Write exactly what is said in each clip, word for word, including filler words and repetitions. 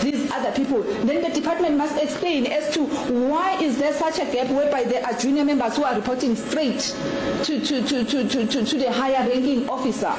these other people. Then the department must explain as to why is there such a gap whereby there are junior members who are reporting straight to, to, to, to, to, to, to the higher ranking officer.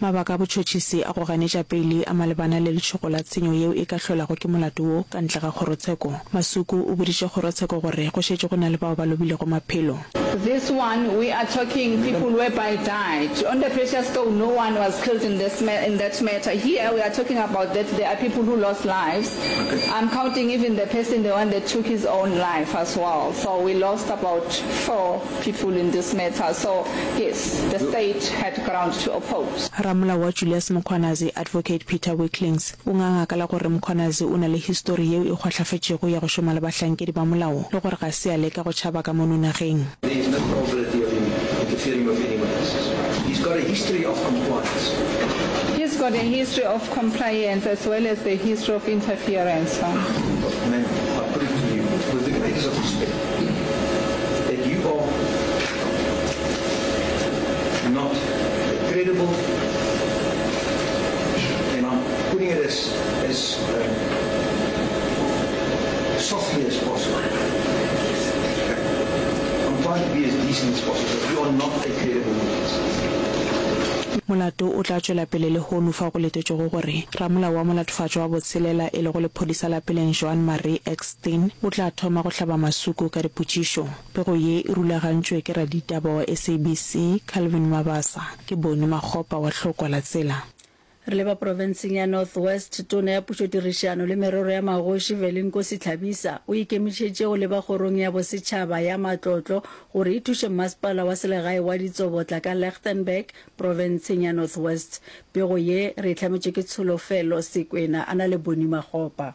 Mabaka a botšhotšhisi a go ganetša peile a malebana le letšhogo la tshenyo yeo e ka hlolago ke molato wo ka ntle ga kgorotsheko. Masuku o boditše kgorotsheko gore go šetše go na le bao ba lobilego maphelo. This one we are talking people whereby died on the precious stone no one was killed in this in that matter here we are talking about that there are people who lost lives I'm counting even the person the one that took his own life as well so we lost about four people in this matter so yes the state had ground to oppose. Ramolao wa Julius Mkhwanazi, Advocate Peter Weeklings, o nganga ka la gore Mkhwanazi o na le histori yeo e kgwahlafetšego ya go šoma le bahlankedi ba molao le gore ga se a leka go tšhaba ka mono nageng. There is no probability of him interfering with anyone else. He's got a history of compliance. He's got a history of compliance as well as the history of interference. Ma'am, I put it to you with the greatest of respect that you are not credible, and I'm putting it as, as um, softly as possible. I'm trying to be as decent as possible. You are not a credible witness. Molato o tla tšwela pele lehono fao go letetšwego gore ramolao wa molatofatšwa wa botshelela e lego lephodisa la peleng Joan Marie Eksteen o tla thoma go hlaba Masuku ka dipotšišo. Pego ye e rulagantšwe ke raditaba wa S A B C Calvin Mabasa. Ke Boni Makgopa wa Hlokwa la Tsela. Re leba profenseng ya North West, Tona ya Pušotirišano le Merero ya Magoši Velenkosini Hlabisa o ikemišetše go leba Kgorong ya Bosetšhaba ya Matlotlo gore e thuše Mmasepala wa Selegae wa Ditsobotla ka Lichtenburg profenseng ya North West. Pego ye re e hlametšwe ke Tsholofelo Sekwena a na le Boni Makgopa.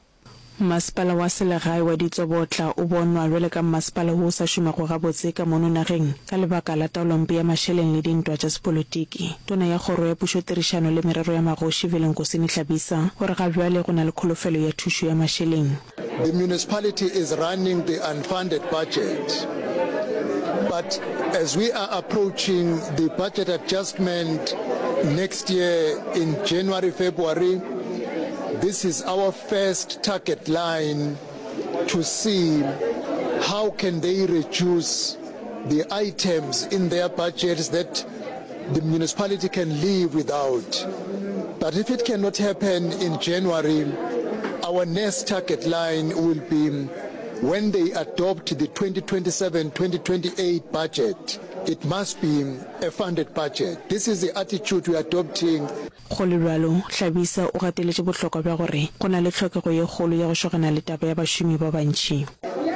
Mmasepala wa selegae wa Ditsobotla o bonwa bjalo ka mmasepala wo o sa šomego gabotse ka mono nageng ka lebaka la taolompe ya mašeleng le dintwa tša sepolotiki. Tona ya Kgoro ya Pušotirišano le Merero ya Magoši Velenkosini Hlabisa o re ga bjale go na le kholofelo ya thušo ya mašeleng. The municipality is running the unfunded budget, but as we are approaching the budget adjustment next year in January, February, this is our first target line to see how can they reduce the items in their budgets that the municipality can live without. But if it cannot happen in January, our next target line will be when they adopt the twenty twenty-seven twenty twenty-eight budget. It must be a funded budget. This is the attitude we are adopting. Go le bjalo, Hlabisa o gateletše bohlokwa bja gore go na le tlhokego ye kgolo ya go šogana le taba ya bašomi ba bantši.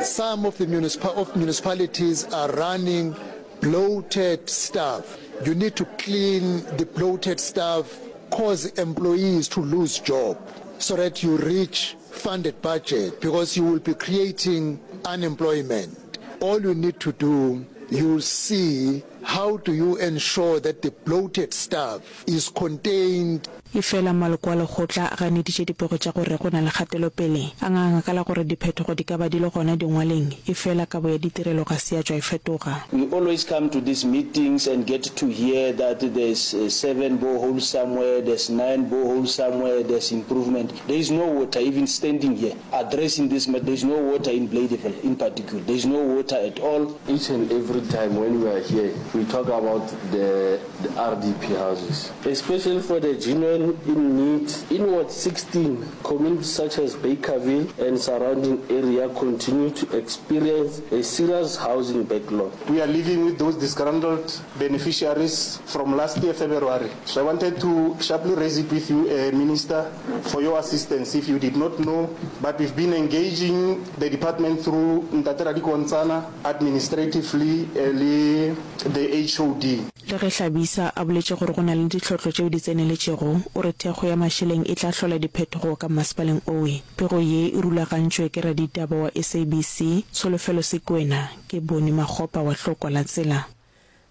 Some of the municipal of municipalities are running bloated staff. You need to clean the bloated staff, cause employees to lose job so that you reach funded budget, because you will be creating unemployment. All you need to do, you'll see how do you ensure that the bloated staff is contained. Efela maloko a lekgotla a ganeditše dipego tša gore go na le kgatelopele, a nganga ka la gore diphetogo di ka ba di le gona dingwaleng, efela kabo ya ditirelo ga se ya tšwa e fetoga. We always come to these meetings and get to hear that there's seven boreholes somewhere, there's nine boreholes somewhere, there's improvement. There is no water, even standing here addressing this matter, there is no water in Bladeville in particular. There is no water at all. Each and every time when we are here, we talk about the, the R D P houses, especially for the genuine in need. In Ward sixteen, communities such as Bakerville and surrounding area continue to experience a serious housing backlog. We are living with those disgruntled beneficiaries from last year, February. So I wanted to sharply raise it with you, uh, Minister, for your assistance. If you did not know, but we've been engaging the department through Ntate Radikontsana administratively, uh, le the H O D. Le ge Hlabisa a boletše gore go na le ditlhotlo tšeo di tseneletšego, o re thekgo ya mašeleng e tla hlola diphetogo ka mmasepaleng owe. Pego ye e rulagantšwe ke raditaba wa S A B C Tsholofelo Sekwena. Ke Boni Makgopa wa Hlokwa la Tsela.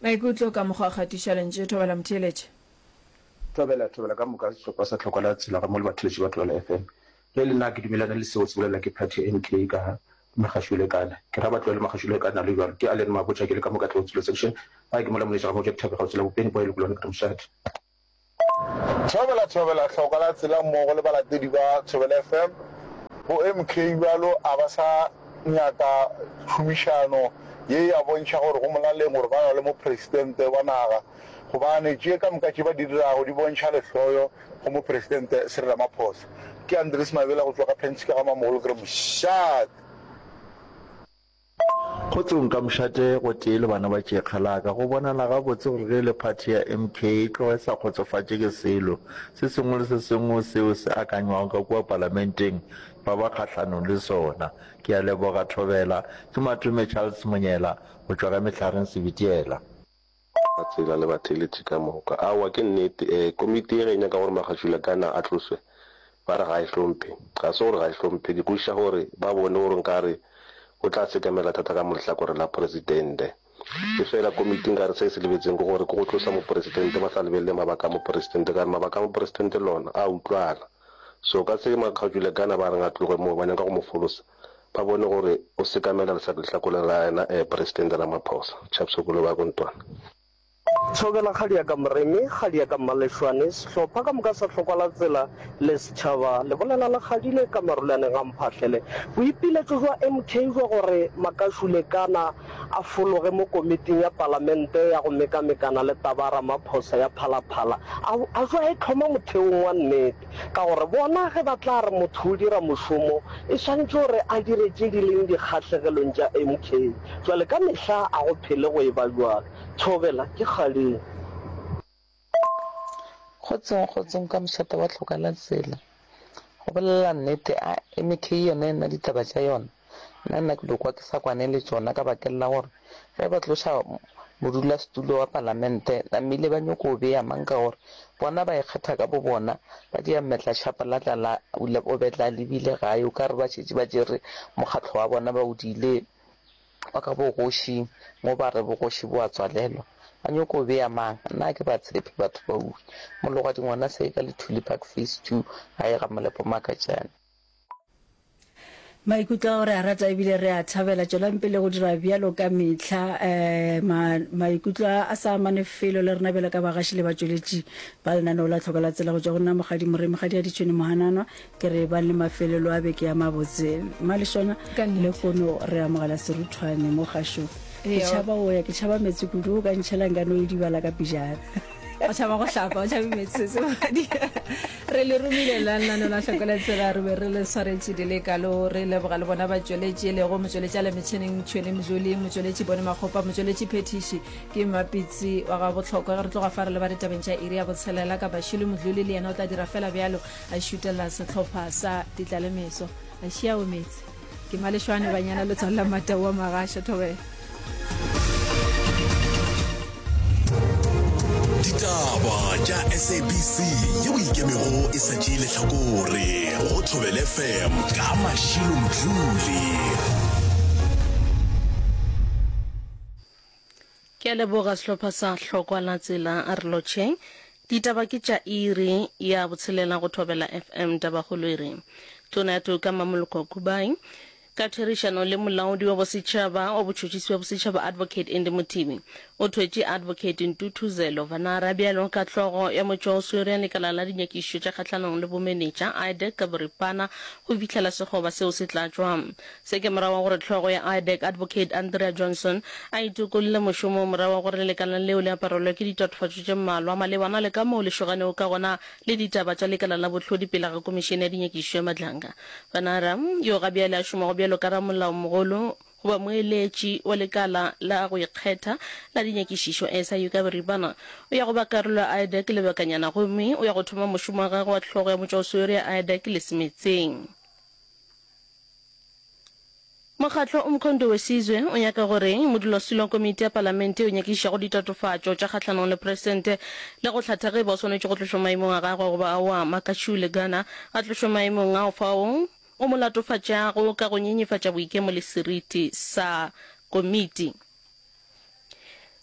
Maikutlo ka mokgwa wa kgatišo ya lentšu. Thobela motheeletši. Thobela, thobela ka moka sehlopha sa Tlhokwa la Tsela ga mo le batheeletši ba Thobela F M. Ge le nna ke dumelane le seo se bolela ke party ya M K ka Magashule-Kana. Ke ra ba tlohele Magashule-Kana le bjalo. Ke Allen Mabotja ke le ka mo Katlego Tshilo Section. Gae ke mola moletša ga Motša Dithabe kgauswi la Bopeni Boy le Kolwane ka Mošate. Thobela, thobela, Tlhokwa la Tsela mmogo le balatedi ba Thobela F M. Bo M K bjalo a ba sa nyaka tšhomišano ye ya bontšha gore go molaleng gore ba lwa le mopresidente wa naga gobane tše ka moka tše ba di dirago di bontšha lehloyo go mopresidente Cyril Ramaphosa. Ke Andries Mabela go tšwa ka Penske ga Mamogolo ke re mošate. Kgotsong ka mošate gotee le bana ba tšekga la ka. Go bonala gabotse gore ge e le phathi ya M K e tloga e sa kgotsofatše ke selo se sengwe le se sengwe seo se akanywago ka kua palamenteng, ba ba kgahlanong le sona. Ke a leboga Thobela. Ke Matome Charles Monyela go tšwa ka Mehlareng Sebitiela. Ka tsela le batheeletši ka moka. Aowa, ke nnete. Eh, komiti ye ge e nyaka gore Makgašula Kana a tloswe, ba re ga e hlomphe. Ga se gore ga e hlomphe, ke kwešiša gore ba bone gore nkare o tla sekamela thata ka mo lehlakoreng la Presidente. Efela komiti nkare se e se lebetseng ke gore ke go tlosa Mopresidente ba sa lebelele mabaka a Mopresidente, ka gore mabaka a Mopresidente lona a utlwala. So ka se Makgašula Kana ba reng a tloge moo, ba nyaka go mo folosa, ba bone gore o sekamela lehlakoreng la yena eh, Presidente Ramaphosa. Chaps Kolobe a ko Ntwana. Thobela kgadi ya ka Moremi, kgadi ya ka Mmalešwane, sehlopha ka moka sa Hlokwalatsela le setšhaba le bolela le kgadile ka marulaneng a Mphahlele. Boipiletšo bja M K bja gore Makashule Kana a fologe mo komiting ya palamente ya go mekamekana le taba ya Ramaphosa ya Phalaphala a a jwa e hloma motheong wa nnete ka gore bona ge ba tla re motho o dira mošomo e swanetše gore a dire tše di leng dikgahlegelong tša M K. Jwale ka mehla a go phele go eba bjalo. Thobela, ke kgaleng. Kgotsong, kgotsong ka mošate wa hloka la tsela. Go bolela nnete, a M K yona e na ditaba tša yona. Nna nna ke do kwa ke sa kwane le tšona ka bakeng la gore ge ba tloša modulasetulo wa palamente namile ba nyoko o bea mang ka gore bona ba ikgetha ka bo bona ba dia mmetla tšhapa la tla la o betla lebile gae o ka re ba šetše ba tšere mokgatlo wa bona ba o diile wa ka bogošing mo ba re bogoši bo a tswalelwa ba nyoko o bea mang nna ke ba tshepe batho ba uwe mologadi ngwana se ka Lethuli Park phase two gae ga Molepo Makatšane. Maikutlo ao re a rata ebile re a thabela. Tšwelang pele go dira bjalo ka mehla. Um ma, maikutlo a a sa amane felo le rena bjalo ka bagaši le batšweletši ba lenaneo la Tlhoko la Tsela. Go tšwa go nna Mokgadi Moremi, Kgadi ya Ditšhwene Mohananwa, ke re bang le mafelelo a beke ya mabotse. Mmalešwana, Ka nnete. lehono re amogela seruthwane mo kgašong. Ke Eya. tšhaba go ya, ke tšhaba meetse kudu, o ka ntšhela nka no idibala ka pejana. O tšhaba go hlapa, o tšhabe meetse se madi. Re le romile la lenaneo la Hloko la Tsela, re be re le swaretše di le kalo. Re leboga le bona batšweletši e lego motšweletši a le metšhineng Tšhwene Mdluli, motšweletši Bone Makgopa, motšweletši Phetiši ke Mmapitsi wa ga Bohlokwa. Ge re tloga fa re leba ditabeng tša iri ya botshelela ka Bašilo Mdluli, le yena o tla dira fela bjalo, a šutela sehlopha sa Ditlalemeso. A šia o meetse. Ke Malešwane banyana letswalo la Matau wa Magasha Thobela. Ditaba tša S A B C yeo e ikemego e sa tšee lehlakore go Thobela F M ka Mashilo Mdluli. Ke a leboga sehlopha sa Hlokwa la Tsela a re lotšheng. Ditaba ke tša iri ya botshelela go Thobela F M. Tabakgolo e re Tona ya Toka Mmamoloko Kubayi ka therišano le molaodi wa bosetšhaba wa botšhotšhisi bja bosetšhaba Advocate Andy Mothibi o thwetše Advocate Ntuthuzelo Vanara bjalo ka hlogo ya motšwaoswere ya lekala la dinyakišišo tša kgahlanong le bomenetša I D E C ka boripana go fihlela sekgoba seo se tlatšwa. Se ke morago ga gore hlogo ya I D E C Advocate Andrea Johnson a itokolle mošomong morago ga gore lekala leo le aparelwe ke ditatofatšo tše mmalwa malebana le ka moo le šoganego ka gona le ditaba tša lekala la bohlodi pele ga Komišene ya Dinyakišišo ya Madlanga. Vanara, yo ga bjale a šomago bjalo ka ramolaomogolo goba moeletši wa lekala la go ikgetha la dinyakišišo S I U ka boripana, o ya go ba karolo ya I D E C lebakanyana gomme o ya go thoma mošomo wa gagwe wa hlogo ya motšwaoswere ya I D E C lesemetseng. Mokgatlo Umkhonto we Sizwe o nyaka gore modulasetulo wa komiti ya palamente yeo e nyakišišago ditatofatšo tša kgahlanong le presidente le go hlatha ge e ba o swanetše go tlošwa maemong a gagwe goba aowa, Makashule Gana a tlošwe maemong ao fao o mo latofatšago ka go nyenyefatša boikemo le seriti sa komiti.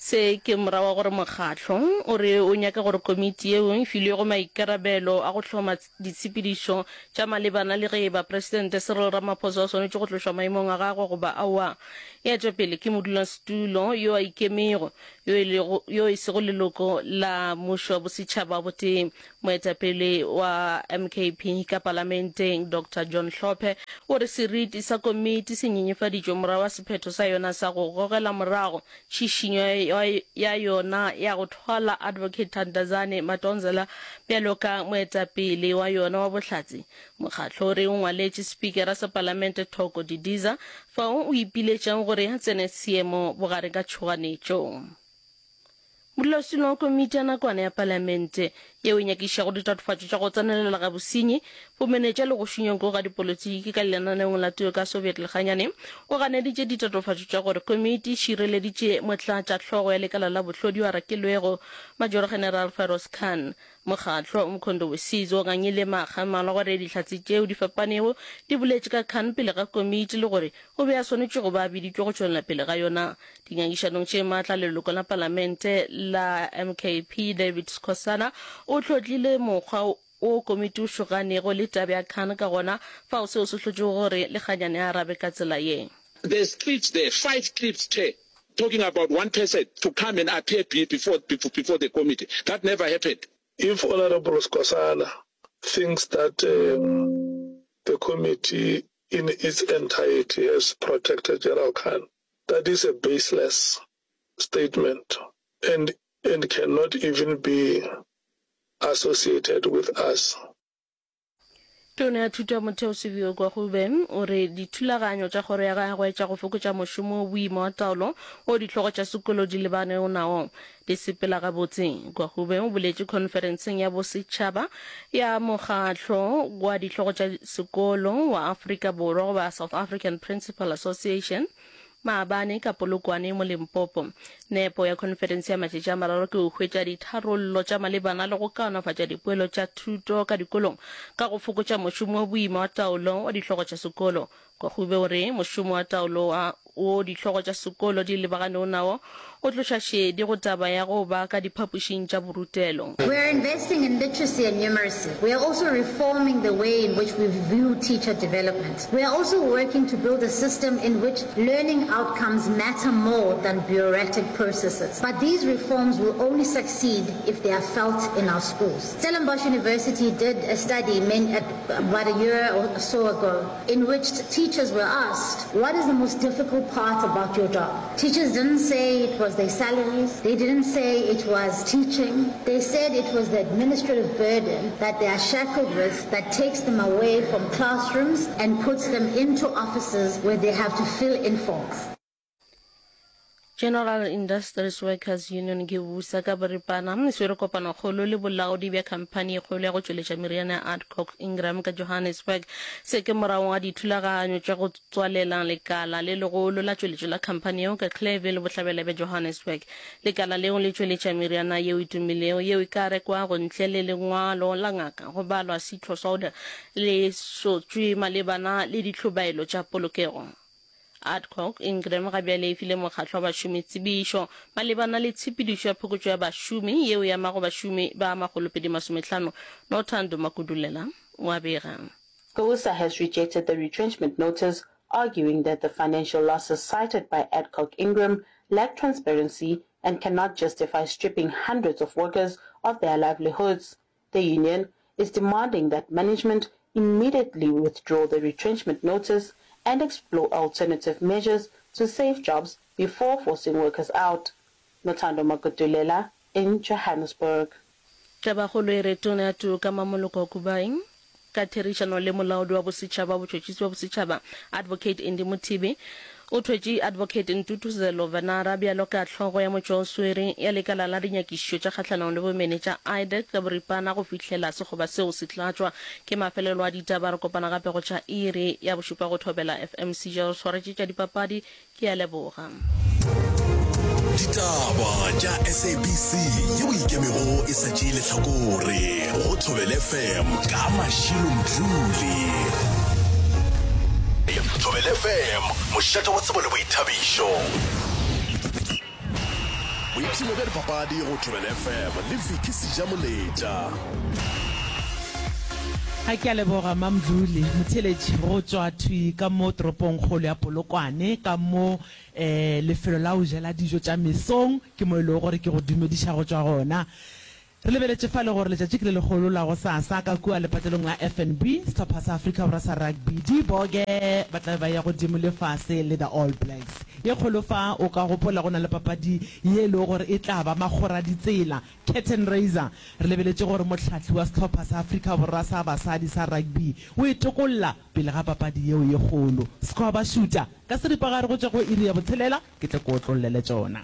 Se ke morago ga gore mokgatlo o re o nyaka gore komiti yeo e filwego maikarabelo a go hloma ditshepedišo tša malebana le ge e ba Presidente Cyril Ramaphosa o swanetše go tlošwa maemong a gagwe goba aowa e etšwe pele ke modulasetulo yo a ikemego yo e lego yo e sego leloko la mmušo wa bosetšhaba wa botee. Moetapele wa M K P ka palamenteng Doctor John Hlophe o re seriti sa komiti se nyenyefaditšwe morago ga sephetho sa yona sa go gogela morago tšhišinyo ya yona ya go thwala Advocate Thandazani Madonsela bjalo ka moetapele wa yona wa bohlatse. Mokgatlo o re o ngwaletše Spikara sa Palamente Thoko Didiza fao o ipiletšang gore a tsene seemo bogare ka tšhoganetšo. Modulasetulo wa komiti ya nakwana ya Palamente yeo e nyakišišago ditatofatšo tša go tsenelela ga bosenyi, bomenetša le go šunywa nko ga dipolotiki ka lenaneong la Toka Soviet Lekganyane o ganeditše ditatofatšo tša gore komiti e šireleditše motlatšahlogo ya lekala la bohlodi yo a rakilwego Major General Feroz Khan. Mokgatlo Umkhonto we Sizwe o ngangile makga a mmalwa gore dihlatse tšeo di fapanego di boletše ka Khan pele ga komiti le gore o be a swanetše go ba a biditšwe go tšwelela pele ga yona dingangišanong tše matla. Leloko la palamente la M K P David Skhosana o hlotlile mokgwa wo komiti o šoganego le taba ya Khan ka gona fao seo se hlotšego gore Lekganyane a arabe ka tsela ye. There's clips there, five clips, Chair, talking about one person to come and appear before, before the committee. That never happened. If Honourable Skhosana thinks that um, the committee in its entirety has protected General Khan, that is a baseless statement and, and cannot even be associated with us. Tona ya Thuto ya Motheo Siviwe Gwarube o re dithulaganyo tša kgoro ya gagwe tša go fokotša mošomo o boima wa taolo wo dihlogo tša sekolo di lebanego nao di sepela gabotse. Gwarube o boletše khonferenseng ya bosetšhaba ya Mokgatlo wa Dihlogo tša Sekolo wa Afrika Borwa goba South African Principal Association maabane ka Polokwane mo Limpopo. Nepo ya khonferense ya matšatši a mararo ke go hwetša ditharollo tša malebana le go kaonafatša dipoelo tša thuto ka dikolong ka go fokotša mošomo o boima wa taolo wa dihlogo tša sekolo. Gwarube o re mošomo wa taolo wa wo dihlogo tša sekolo di lebaganego nao o tloša šedi go taba ya go ba ka diphapošing tša borutelo. We are investing in literacy and numeracy. We are also reforming the way in which we view teacher development. We are also working to build a system in which learning outcomes matter more than bureaucratic processes. But these reforms will only succeed if they are felt in our schools. Stellenbosch University did a study many, about a year or so ago in which teachers were asked, what is the most difficult part about your job? Teachers didn't say it was their salaries. They didn't say it was teaching. They said it was the administrative burden that they are shackled with that takes them away from classrooms and puts them into offices where they have to fill in forms. General Industries Workers Union ke busa ka boripana e swere kopanokgolo le bolaodi bja khamphani e kgolo ya go tšweletša meriana ya Adcock Ingram ka Johannesburg. Se ke morago ga dithulaganyo tša go tswalela lekala le legolo la tšweletšo la khamphani yeo ka Clerville bohlabela bja Johannesburg. Lekala leo le tšweletša meriana yeo e tumilego yeo e ka rekwago ntle le lengwalo la ngaka go balwa Citrosol le sotšwe malebana le dihlobaelo tša polokego. Adcock Ingram ga bjale e file mokgatlo wa bašomi tsebišo malebana le tshepedišo ya phokotšo ya bašomi yeo e amago bašomi ba makgolopedi masomehlano. Nothando Makudulela o a bega. GCOSA has rejected the retrenchment notice, arguing that the financial losses cited by Adcock Ingram lack transparency and cannot justify stripping hundreds of workers of their livelihoods. The union is demanding that management immediately withdraw the retrenchment notice and explore alternative measures to save jobs before forcing workers out. Nothando Magudulela in Johannesburg. Tabakgolo e re Tona ya Toka Mamoloko Kubayi ka therišano le molaodi wa bosetšhaba wa botšhotšhisi bja bosetšhaba Advocate Andy Mothibi o thwetše Advocate Ntuthuzelo Vanara bjalo ka hlogo ya motšwaoswere ya lekala la dinyakišišo tša kgahlanong le bomenetša I D A C ka boripana go fihlela sekgoba seo se tlatšwa. Ke mafelelo a ditaba, re kopana gape go tša iri ya bošupa go Thobela F M. Seja re swaretše tša dipapadi, ke a leboga. Ditaba tša S A B C yeo e ikemego e sa tšee lehlakore go Thobela F M ka Mashilo Mdluli. Thobela F M, mošate wa tsebo le boithabišo. Boipshino bja dipapadi go Thobela F M le Vicky Sejamoletša. Ga ke a leboga Mamdluli Motheeletši go tšwa thwi ka mo toropongkgolo ya Polokwane ka mo um lefelo la go jela dijo tša mesong ke mo e lego gore ke go dumediša go tšwa gona. Re lebeletše fale gore letšatši ke le legolo la gosasa ka kua lepatlelong la F N B, sehlopha sa Afrika Borwa sa rugby, Diboke ba tla be ba eya godimo le fase le The All Blacks. Ye kgolo fa, o ka gopola go na le papadi ye e lego gore e tla ba makgoraditsela, curtain raiser. Re lebeletše gore mohlahli wa sehlopha sa Afrika Borwa sa basadi sa rugby o e tokolla pele ga papadi yeo ye kgolo. Skhwa ba šuta ka seripagare go tšwa go iri ya botshelela, ke tle ke otlollele tšona.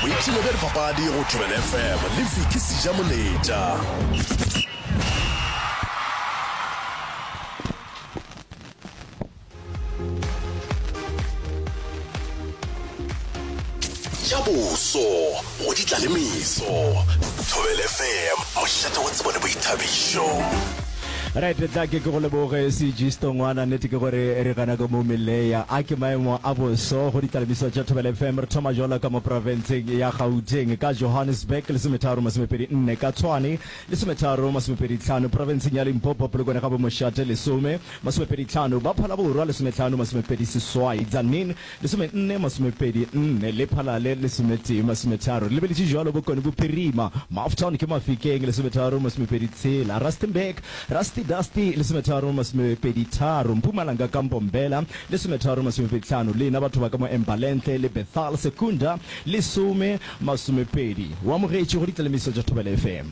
Boipshino bja dipapadi go Thobela F M le Vicky Sejamoletša. Tša boso go di tla le meso. Thobela F M, mošate wa tsebo le boithabišo. Right, tla ke ke go leboge C G Stongwana. Nnete ke gore re gana ka mo Meleya. A ke maemo a boso go ditlalemiso tša Thobela F M. Re thoma jwalo ka mo profenseng ya Gauteng ka Johannesburg lesometharo masomepedi nne, ka Tshwane lesometharo masomepedi tlhano, profenseng ya Limpopo Polokwane ga bomošate lesome masomepedi tlhano, ba Phalaborwa lesometlhano masomepedi seswai, Tzaneen lesomenne masomepedi nne, Lephalale lesometee masometharo. Re lebeletše jwalo Bokone Bophirima, Maftown ke Mafikeng lesometharo masomepedi tshela, Rustenburg Rusty Dusty lesometharo masomepedi tharo, Mpumalanga ka Mbombela lesometharo masomepedi tlhano, lena batho ba ka mo Embalenhle le Bethal Secunda lesome masomepedi. O amogetšwe go ditlalemiso tša Thobela F M.